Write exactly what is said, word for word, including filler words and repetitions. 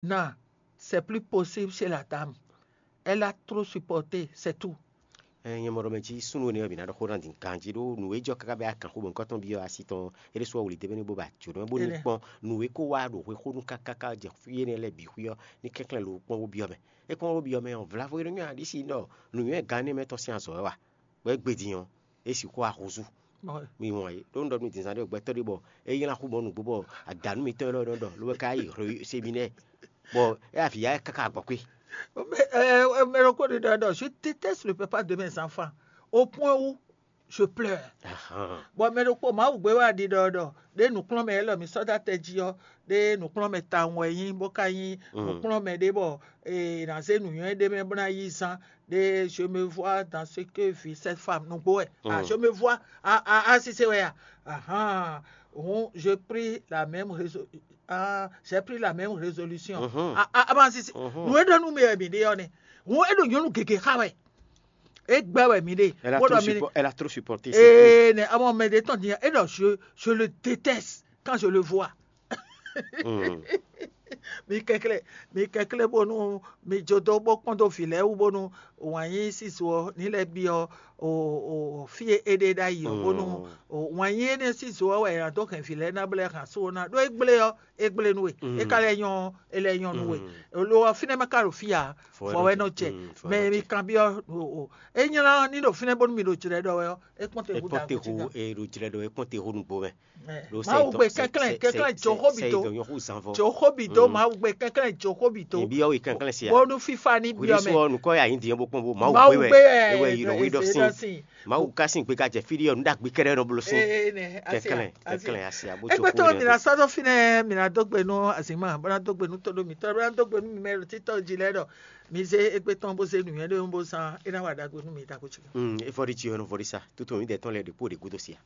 Non, c'est plus possible chez la dame. Elle a trop supporté, c'est tout. Nyɛ mɔ ɖɔ mɛ jí súnnu énɛ́ ɔ́, mǐ ná ɖɔ xó ná din ganjí ɖó nǔ e jɔ káká bɔ é wá gǎn xó bɔ nukɔn tɔn byɔ́ asi tɔn é ɖésú ɔ́ wlǐ d'é mɛ ní bó ba jǒnɔ bó ní kpɔ́n nǔ e kó wá ɖo xwexónu kákáká jɛ fí énɛ́ lɛ́ɛ bǐ xwí ɔ́ ní kɛnklɛ́n lo kpɔ́n bó byɔ́ mɛ. É kpɔ́n bó byɔ́ mɛ ɔ́, vlavo e nɔ nywɛ́ ǎ ɖísi ɖɔ nǔnywɛ́ gán énɛ́ mɛ tɔn sín azɔ̌ wɛ wa, bɔ é gbe din ɔ́, é sixú wá húzú. Mi wɔn é ɖó un ɖɔ nú mi din zán ɖé gbɛtɔ́ ɖé bɔ é nylá xú mɔ nǔgbó bɔ adǎnú mitɔn élɔ́ nɔ ɖɔ ló wɛ ka yi seminɛ́ɛ bɔ é avǐ ya káká agbɔ̌kwé. Mɛ ɖokpó ɖi ɖɔ ɖɔ je déteste le papa de mes enfants au point où je pleure. Bon, mɛ ɖokpó Mawu gbé wá ɖi ɖɔ ɖɔ ɖé nǔkplɔ́nmɛ élɔ́ mi sɔ́ dó atɛ jí ɔ́, ɖé nǔkplɔ́nmɛ tawun wɛ nyí bó ka nyí nǔkplɔ́nmɛ ɖé bɔ è nǎ zé nǔnywɛ́ ɖé mɛ bó ná yí zán ɖé. Je me vois dans ce que vit cette femme nǔgbó wɛ. Ah, je me vois. Ah, ah, ah, si c'est wɛ. Ah, ah, hon, je pris la même résolution. Ah, j'ai pris la même résolution. Ah, ah, ah, bah, si, si. Nǔ e ɖɔ nú mi wɛ mi ɖe ɔ́ nɛ. Hon, e ɖo nyɔnu gěgé xa wɛ. E gbɛ wɛ mi ɖe. Elle a Bó trop ɖɔ mi suppo- elle a trop supporté. Ee, nɛ amɔ mɛ ɖe tɔn din e ɖɔ je je le déteste quand je le vois. Mi kɛnklɛ́n, mi kɛnklɛ́n bónú mi jó dó bó kpɔ́n dó vǐ lɛ́ɛ wú bónú wǎn yí síso ɔ́ ní lɛ́ byɔ́ o o fí e é ɖe ɖ'ayǐ ɔ́ bónú o wǎn yí énɛ́ síso ɔ́ wɛ è nǎ dó hɛn vǐ lɛ́ɛ ná bó lɛ́ hɛn asú ɔ́ ná ɖó é gblé ɔ́, é gblé nú we. É ka lɛ́ nyɔ́ ɔ́, é lɛ́ nyɔ́ nú we. Lo ɔ́, fínɛ́ ma ka ɖo fí ǎ, vɔ wɛ nɔ jɛ. Mɛ mi kanbyɔ́ o o é nylá ní ɖo fínɛ́ bónú mi ɖo jlɛ̌ ɖɔ wɛ ɔ́, é kpɔ́n te hú da kú cí ká. Ɖo é kpɔ́n te hú nugbo mɛ. Mawu gbe kɛnklɛn kɛnklɛn Jehobito. Jehobito, Mawu gbe kɛnklɛn Jehobito. Bónú fífa ní byɔ́ mɛ. Nukɔ ya yín diɛ bó kpɔn bó Mawu gbe wɛ. Ewɛ yi nɔ wí ɖɔ sin. Mawu ka sin gbe ka jɛ fí ɖi ɔ́, nu ɖagbe kɛɖɛ nɔ blo sin. Kɛnklɛn kɛnklɛn asi abo tso. Ekpɛtɔ mi na sɔdɔ finɛ mi na dɔgbe nú azima bó na dɔgbe nú todo mi tɔ bó na dɔgbe nú mi mɛ títɔ jí lɛ ɖɔ mi zé ekpɛtɔ bó zé nuyɛ ɖe bó zan é na wa ɖagbe nú mi tako tsi. Efɔɖi tsi ɔnɔ vɔɖi sa tutu mi dɛ tɔn lɛ ɖe kpo ɖe gudo sia.